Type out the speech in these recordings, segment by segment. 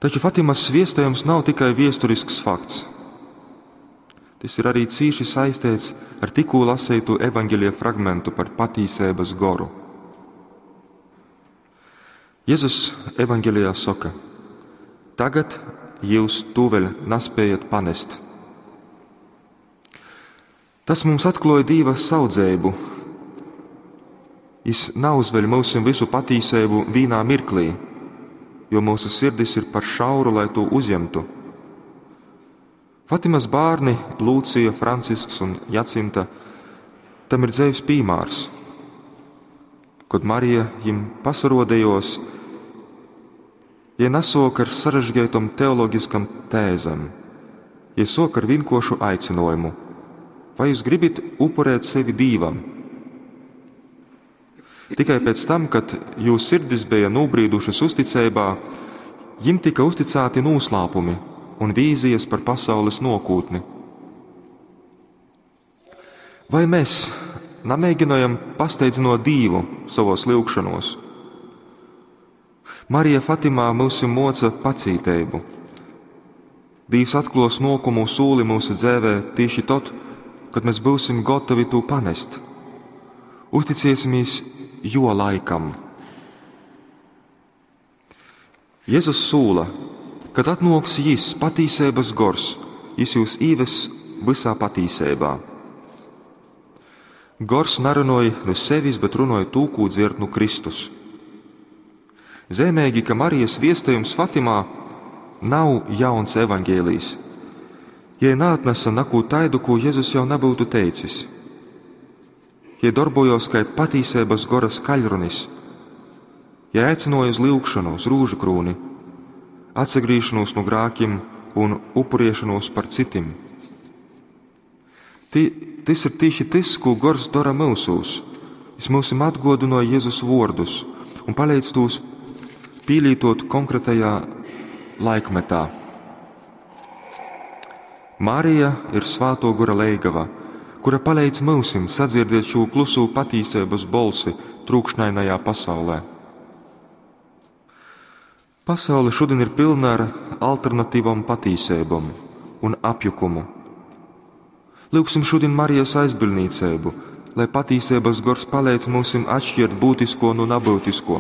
Taču Fatimas viestejums nav tikai viesturisks fakts. Tys ir arī cīši saisteits ar tikkū laseitu evaņgelija fragmentu par patīseibys goru. Jezus evaņgelijā soka: Tagad jūs tū vēļ naspējat panest. Tas mums atkluoj Dīva saudzeibu. Jis nauzveļ myusim vysu patīseibu vīnā mirklī, jo mūsu sirdis ir par šauru, lai to uzņemtu. Fatimas bārni Lūcija, Francisks un Jacinta tam ir dzeivs pīmārs. Kod Marija jim pasarodējos, jie nasok ar sarežģītom teoloģiskam tēzem, jie sok ar vienkošu aicinājumu: Vai jūs gribat upurēt sevi Dīvam? Tikai pēc tam, kad jū sirdis bija nobrīdušas uzticeibā, jim tika uzticēti noslēpumi un vīzijas par pasaules nokūtni. Vai mēs namēģinājam pasteidzinot Dīvu savos lyugšanos? Marija Fatimā mūsim moca pacīteibu. Dīvs atklos nokumu sūli mūsu dzēvē tieši tad, kad mēs būsim gatavi to panest. Uzticēsimies jo laikam. Jēzus sūla, kad atnoks jis, patīseibas gors, jis jūs īves visā patīseibā. Gors narunoja no sevis, bet runoja tū, kū dzird no Kristus. Zemēgi, ka Marijas viestējums Fatimā nav jauns evaņģēlijs, ja neatnesa nakū taidu, ko Jēzus jau nebūtu teicis. Ja darbojos kā patīseibas gora skaļrunis, ja aicināja uz lyugšanu, uz rūžu krūni, atsagrīšanos no grākiem un upuriešanos par citim. Tis ir tieši tas, ko gors dara mūsūs. Jis mūsim atgodinoja Jēzus vārdus un palīdz tos pīlītot konkrētajā laikmetā. Marija ir svāto gora leigava, kura palīdz mūsim sadzirdēt šo klusū patīseibas bolsi trūkšņainajā pasaulē. Pasaule šodien ir pilna ar alternatīvom patīseibom un apjukumu. Lūgsim šodien Marijas aizbildnīcību, lai patīseibas gors palīdz mūsim atšķirt būtisko no nebūtisko.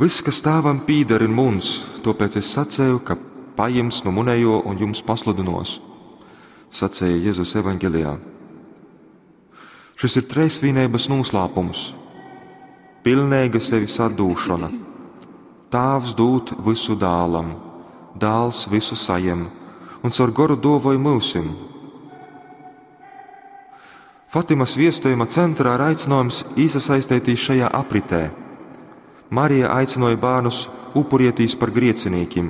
Viss, kas tēvam pīder, ir muns, tāpēc es sacēju, ka pajims no munējo un jums pasludinos, sacēja Jēzus evaņgelijā. Šis ir treisvīnības noslēpums, pilnīga sevis atdūšana. Tāvs dūt visu dālam, dāls visu sajem, un caur goru dovoj mūsim. Fatimas viestējuma centrā ir aicinājums iesaistīties šajā apritē. Marija aicināja bērnus upurietīs par griecinīkim.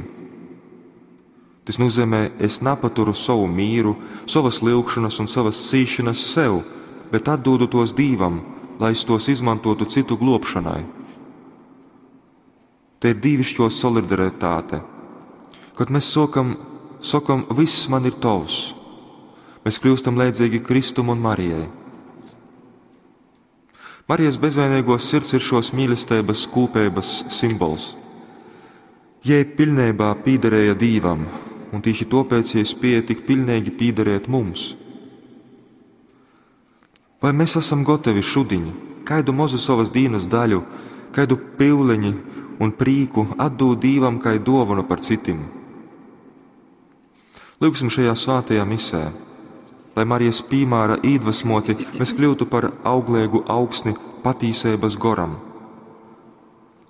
Tas nozīmē, es napaturu savu mīru, savas lyugšanas un savas cīšanas sev, bet atdodu tos Dīvam, lai es tos izmantotu citu globšanai. Te ir dīvišķo solidaritāte. Kad mēs sokam, sakam, viss man ir tavs, mēs kļūstam līdzīgi Kristum un Marijai. Marijas bezvainīgo sirds ir šos mīlestības kūpības simbols. Jai pilnībā pīderēja Dīvam, un tieši tāpēc jai spēja tik pilnīgi pīderēt mums. Vai mēs esam gatavi šodien, kaidu mazu savas dienas daļu, kaidu pīleņi un prīku atdūt Dīvam kā dāvanu par citiem? Lūgsim šajā svētajā misē, lai Marijas pīmāra iedvesmoti mēs kļūtu par auglīgu augsni patīseibas goram.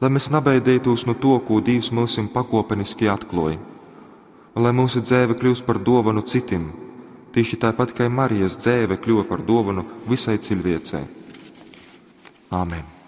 Lai mēs nabaidītos no to, ko Dievs mūsim pakopeniski atkloja, un lai mūsu dzēve kļūst par dāvanu citim, tieši tāpat kā Marijas dzēve kļuva par dāvanu visai cilvēcei. Āmen!